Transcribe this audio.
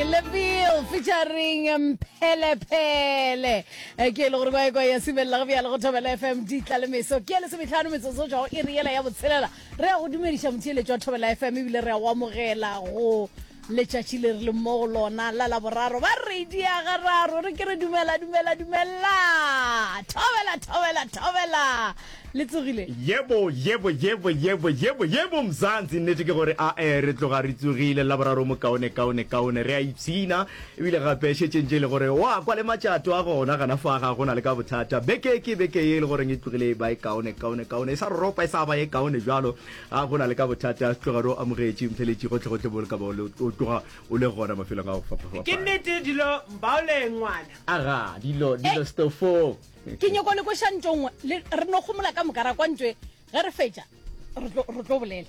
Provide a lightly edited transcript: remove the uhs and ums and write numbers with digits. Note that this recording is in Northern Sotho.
Leville featuring Mphelepele. Eh, Ke e le gore kwa kwa ya simelela go bjale go Thobela FM di tla le meso. Ke ya lesometlhano metsotso tšwa go iri yela ya botshelela. Re ya go dumediša motheeletši wa Thobela FM ebile re ya go amogela go letšatši le re leng mo go lona la Laboraro. Ba re dia gararo re ke re dumela dumela dumela. Thobela thobela thobela. Le tsogile? Yebo, yebo, yebo, yebo, yebo, yebo, Mzansi. Nnete ke gore ae, re tloga re tsogile. Laboraro mo kaone, kaone, kaone. Re a ipshina. Ebile gape šetšeng tše e le gore wa kwa le matšato a gona gana fa ga go na le ka bothata. Beke ke beke ye e le goreng e tlogile e ba e kaone, kaone, kaone. E sa ropa e sa ba e kaone bjalo. Ga go na le ka bothata. Tloga re o amogetše mtheletši gohle gohle mo le ka ba o le, o tloga o le gona mafelong a go fapafapana. Ke nnete dilo mbaole ngwana. Aga, dilo, dilo stofong. Ke nyoko le kweša ntšo nngwe, le, re no gomola ka moka ra kwa ntšo e, ge re fetša, re tlo, re tlo bolela.